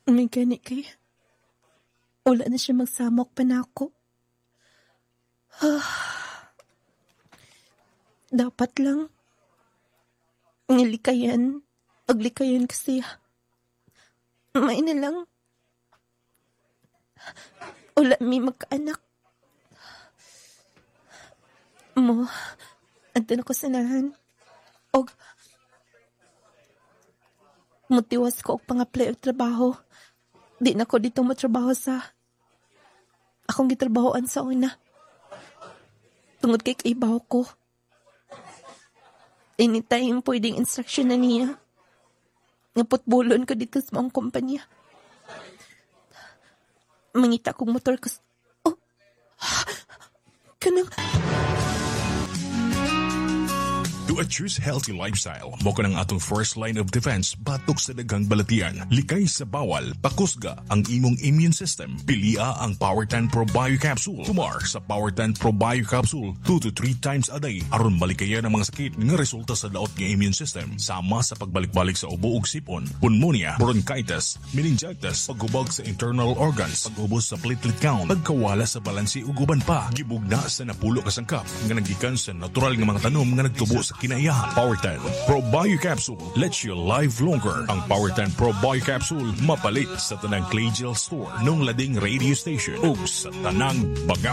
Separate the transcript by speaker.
Speaker 1: May gani kay wala na siya magsamok pa nako. Dapat lang nilikayan, aglikayan kasi may na lang wala mi magkaanak. Mo, andun ako sa nahan. Og, mutiwas ko og pang-apply og trabaho. Di na ko dito matrabaho sa akong gitrabahoan sa una. Tungod kay kaibaw ko. Anytime pwedeng instruction na niya nga putbulon ko dito sa maong kumpanya. Mangita kong motor ko. Oh! Kanang
Speaker 2: To a choose healthy lifestyle, mo kanang atong first line of defense batok sa daghang balatian. Likay sa bawal, pakusga ang imong immune system. Pilia ang Power 10 Pro Bio Capsule. Tumar sa Power 10 Pro Bio Capsule 2 to 3 times a day aron malikayan ang mga sakit nga resulta sa daot nga immune system, sama sa pagbalik-balik sa ubo ug sipon, pneumonia, bronchitis, meningitis, paghubag sa internal organs, pag-ubos sa platelet count, pagkawala sa balanse ug uban pa. Gibugna sa 10 ka sangkap nga nagikan sa natural nga mga tanom nga nagtubo sa kinaiyahan. Power 10 Pro Bio Capsule lets you live longer. Ang Power 10 Pro Bio Capsule mapalit sa tanang Claygel Store, nung lading radio station ug sa tanang mga